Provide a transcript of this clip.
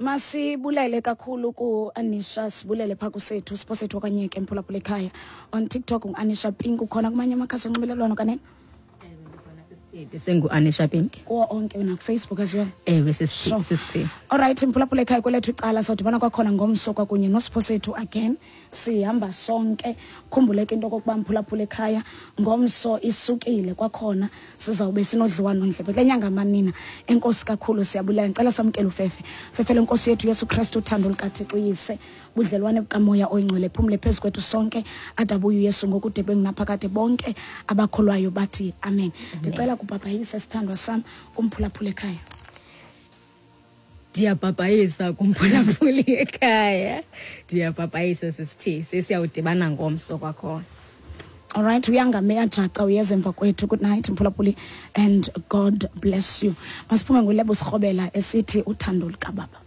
Masibulele kakhulu ku-Anisha, sibulele phaa kusethu Siphosethu okanye ke mphulaphula ekhaya. On TikTok ngu-Anisha Pink, ukhona kumanye amakhasi onxibelelwano kanene? Sengu-Anisha Pink. Kuwo onke nakuFacebook as well? Ewe, sisithi. Alright, mphulaphula ekhaya, kwelethu icala sawudibana kwakhona ngomso kwakunye noSiphosethu again. Sihamba sonke. Khumbuleke into okokuba mphulaphula ekhaya, ngomso isukile kwakhona, sizawube sinodliwano ndlebe kule nyanga manina. Enkosi kakhulu, siyabulela. Ndicela samkele ufefe. Fefe lenkosi yethu Yesu Kristu, uthando lukaThixo uyise, budlelwane bukaMoya oyiNgcwele phumle phezu kwethu sonke, adabuye uYesu ngokude bengunaphakade. Bonke abakholwayo bathi amen. Ndicela kubhabhayise, sithandwa sam, kumphulaphula ekhaya. Ndiyabhabhayisa kumphulaphuli ekhaya, ndiyabhabhayisa sisithi sesiyawudibana ngomso kwakhona. Alright, uyangame uyajaca, uyeza emva kwethu. Good night mphulaphuli, and God bless you. Masiphume ngulebo sirhobela esithi uthando lukababa.